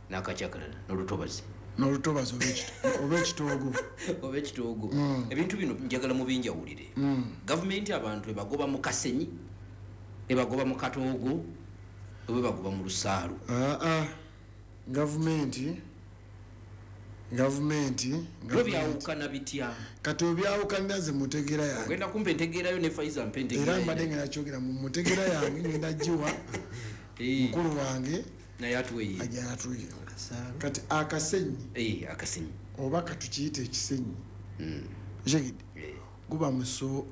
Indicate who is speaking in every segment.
Speaker 1: N'akakyakalala n'olutobazi.
Speaker 2: N'olutobazi oba ekitoogo.
Speaker 1: Oba ekitoogo. Ebintu bino njagala mubinjawulire. Gavumenti abantu ebagoba mu kasenyi, ebagoba mu katoogo, oba ebagoba mu lusaalu?
Speaker 2: Aa, gavumenti
Speaker 1: Byo byawukana bitya?
Speaker 2: Kati obyawukanira nze mutegeera yange.
Speaker 1: Ogenda kumpa entegeerayo ne Faiza mpa entegeera.
Speaker 2: Era mbadde ngenda kyogera mu mutegeera yange, ngenda giwa mukulu wange
Speaker 1: naye atuweeye.
Speaker 2: Ajja atuwe. Kati akasenyi.
Speaker 1: Akasenyi.
Speaker 2: Oba katukiyite ekisenyi. Okitegedde? Guba muso,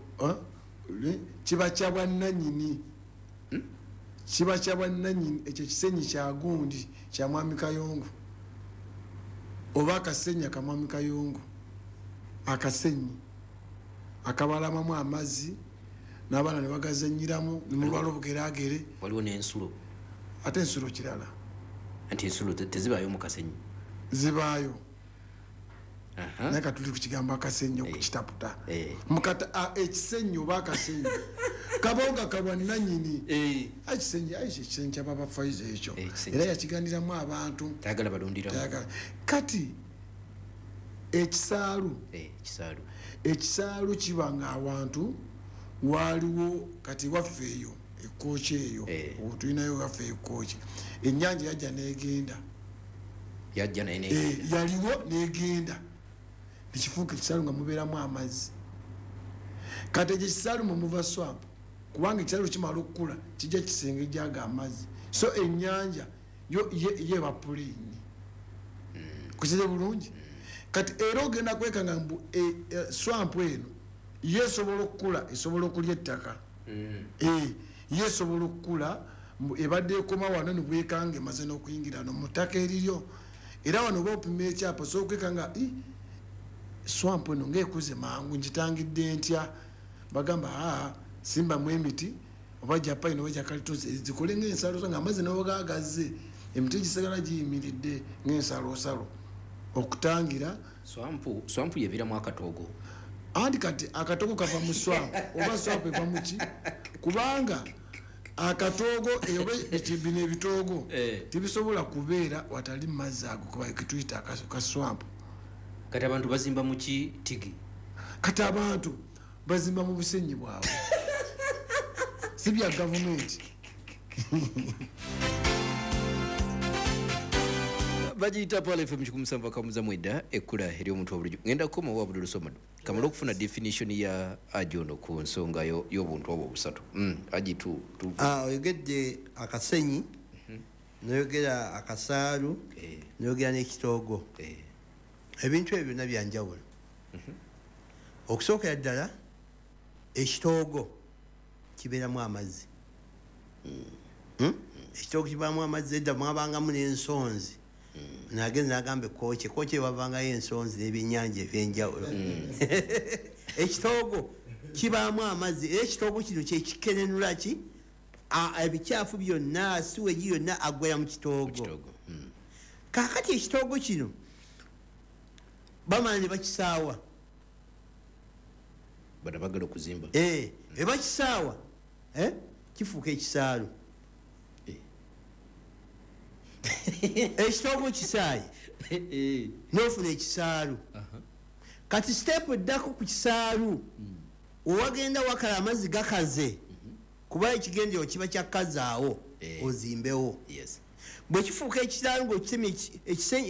Speaker 2: kiba kya bwannannyini. Kiba kya bwannannyini, ekyo ekisenyi kya gundi, kya Mwami Kayongo. Oba akasenyi aka Mwami Kayongo. Akasenyi akabalamamu amazzi n'abaana ne bagazannyiramu, ne mulwala obugeragere.
Speaker 1: Waliwo n'ensulo.
Speaker 2: Ate ensulo kirala.
Speaker 1: Anti ensulo tezibaayo mu kasenyi.
Speaker 2: Zibaayo. Naye katuli ku kigambo akasenyi okukitaputa. Mukata, ekisenyi oba akasenyi kabonga kabwannannyini. Ekisenyi, ekisenyi kya Baba Faiza ekyo. Era yakigandiramu abantu.
Speaker 1: Tayagala balundiramu.
Speaker 2: Tayagala. Kati ekisaalu.
Speaker 1: Ekisaalu.
Speaker 2: Ekisaalu kiba nga awantu waliwo kati waffe eyo ekkooki eyo. Tulinayo waffe ekkooki. Ennyanja yajja n'egenda.
Speaker 1: Yajja naye n'egenda.
Speaker 2: Yaliwo n'egenda. Nekifuuka ekisaalu nga mubeeramu amazzi. Kati ekyo ekisaalu mwe muva swamp, kubanga ekisaalu kimala okukula kijja kisengejja ago amazzi. So ennyanja yo yeba puleeni. Kukize bulungi? Kati era ogenda kwekanga mbu, swamp eno ye esobola okukula, esobola okulya ettaka. Ye esobola okukula, mbu ebadde ekoma wano ne bwekanga emaze n'okuyingira no mu ttaka eriryo. Era wano oba opima ekyapa, osobola okwekanga, swamp eno ng'ekuze mangu, ngitangidde ntya? Bagamba, simbamu emiti, oba japayini oba jakalituusi, zikole ng'ensalosalo, ng'amazzi ne bwe gagazze, emiti gisigala giyimiridde ng'ensalosalo okutangira.
Speaker 1: Swamp yebeeramu akatoogo.
Speaker 2: Anti kati akatoogo kava mu swamp, oba swamp eva mu ki? Kubanga akatoogo, oba bino ebitoogo, tebisobola kubeera watali mazzi ago, kuba ketuyita ka swamp.
Speaker 1: Kati abantu bazimba mu ki, Tigi?
Speaker 2: Kati abantu bazimba mu busenyi bwabwe. Si bya gavumenti.
Speaker 1: Bagiyita Pearl FM kikumi musanvu akamuza mwenda, ekkula ery'omuntu wa bulijjo. Ngenda kukoma wa Abdul Somad. Kamala okufuna definition ya Haji ono ku nsonga y'obuntu obwo obusatu. Haji tu.
Speaker 3: Oyogedde akasenyi, n'oyogera akasaalu, n'oyogera n'ekitoogo. Ebintu ebyo byonna bya njawulo. Okusookera ddala, ekitoogo kibeeramu amazzi. Ekitoogo kibaamu amazzi, edda mwabangamu n'ensonzi. Nagenda n'agamba ekkooki, ekkooki wavangayo ensonzi n'ebyennyanja ebyenjawulo. Ekitoogo kibaamu amazzi, era ekitoogo kino kye kikerenula ki? Ebikyafu byonna, siwegi yonna aggwera mu kitoogo.
Speaker 1: Mu kitoogo.
Speaker 3: Kaakati ekitoogo kino bamala ne bakisaawa.
Speaker 1: Bano baagala okuzimba.
Speaker 3: Bwe bakisaawa, kifuuka ekisaalu. Ekitoogo kisaaye. N'ofuna ekisaalu. Kati step eddako ku kisaalu, owagenda wakala amazzi gakaze, kuba ekigendererwa kiba kya kukazaawo, ozimbewo. Bwe kifuuka ekisaalu ng'okitemye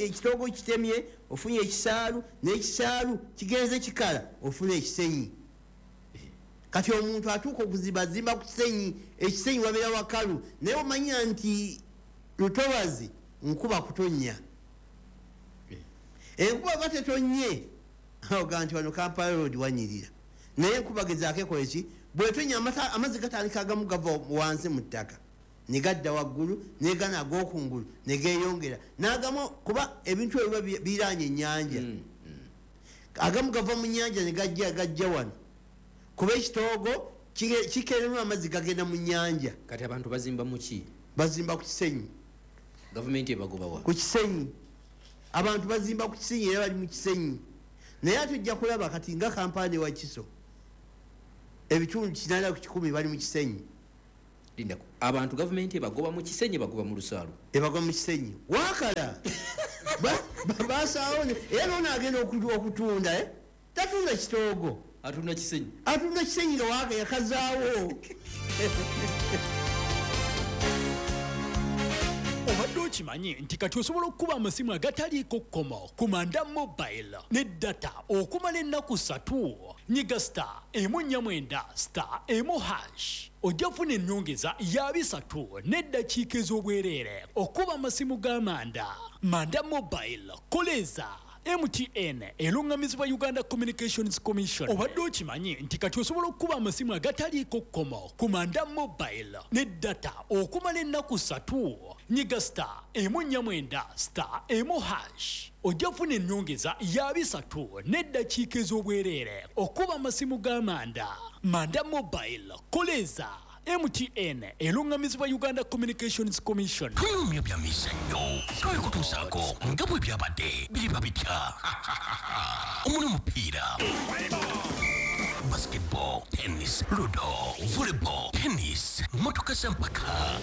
Speaker 3: ekitoogo kitemye, ofunye ekisaalu, n'ekisaalu kigenze kikala, ofuna ekisenyi. Kati omuntu atuuka okuzibazimba ku kisenyi, ekisenyi wabeera wakalu, naye omanya nti lutobazi nkuba kutonnya. Enkuba ba tetonnye, oga nti wano Kampala Road wanyirira. Naye enkuba gezaako ekole ki? Bw'etonnya amazzi gatandika agamu gava wansi mu ttaka, ne gadda waggulu, ne gano ag'okungulu ne geeyongera. N'agamu kuba ebintu ebyo biba biraanye ennyanja. Agamu gava mu nnyanja ne gajja wano. Kuba ekitoogo kikeererwa amazzi gagenda mu nnyanja.
Speaker 1: Kati abantu bazimba mu ki?
Speaker 3: Bazimba ku kisenyi.
Speaker 1: Gavumenti ebagoba wa?
Speaker 3: Ku kisenyi. Abantu bazimba ku kisenyi era bali mu kisenyi. Naye ate ojja kulaba kati nga Kampala ne Wakiso, ebitundu kinaana ku kikumi bali mu kisenyi.
Speaker 1: Lindako, abantu gavumenti ebagoba mu Kisenyi, bagoba mu lusaalu.
Speaker 3: Ebagoba mu Kisenyi wakala basaawo, era nono agenda okutunda, eh? Tatunda kitoogo,
Speaker 1: atunda Kisenyi,
Speaker 3: atunda Kisenyi nga waka yakazaawo.
Speaker 4: Obadde okimanyi nti kati osobola okukuba amasimu agataliiko kkomo ku Manda Mobile ne data okumala ennaku 3? Nyiga *149*1# ojja kufuna ennyongeza ya 300 n'eddakiika ez'obwereere okuba amasimu ga Manda. Manda Mobile, koleza MTN, eruŋŋamizibwa Uganda Communications Commission. Obadde okimanyi nti kati osobola okukuba amasimu agataliiko kkomo ku Manda Mobile ne data okumala ennaku 3? Nyiga *149*1# ojja kufuna ennyongeza ya 300 n'eddakiika ez'obwereere okuba amasimu ga Manda. Manda Mobile, koleza MTN, eruŋŋamizibwa Uganda Communications Commission.
Speaker 5: Tunyumya bya mizannyo, twabikutuusaako nga bwe byabadde biriba bitya omuli omupiira, basketball, tennis, ludo, volleyball, tennis, motoka z'empaka,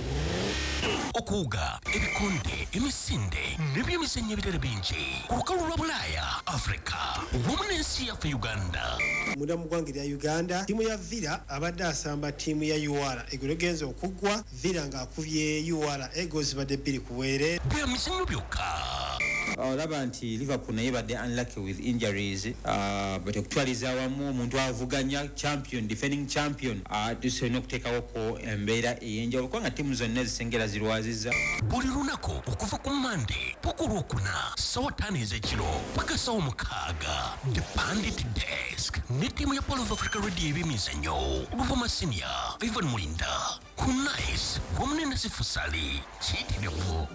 Speaker 5: okuwuga, ebikonde, emisinde n'ebyemizannyo ebirala bingi ku lukalu lwa Bulaaya, Afrika wamu n'ensi yaffe Uganda.
Speaker 6: Munda mu ggwanga erya Uganda, ttiimu ya Villa abadde asamba ttiimu ya UR, egolo egenza okuggwa Villa ng'akubye UR ego zibadde 2-2.
Speaker 5: Bya mizannyo byokka.
Speaker 7: Olaba nti Liverpool naye badde unlucky with injuries, but okutwaliza awamu omuntu avuganya champion, defending champion, tusolina okuteekawoko embeera ey'enjawulo kubanga ttiimu zonna ezisengera zirwaziza.
Speaker 5: Buli lunaku okuva ku Mande paka Olwokuna 5:00 ez'ekiro paka 6:00, The Pandit Desk ne ttiimu ya Pearl of Africa Radio ebyemizannyo, Luvuma Senior, Ivan Mulinda, Kunais wamu ne Nasifu Sali. Kiyitirivu.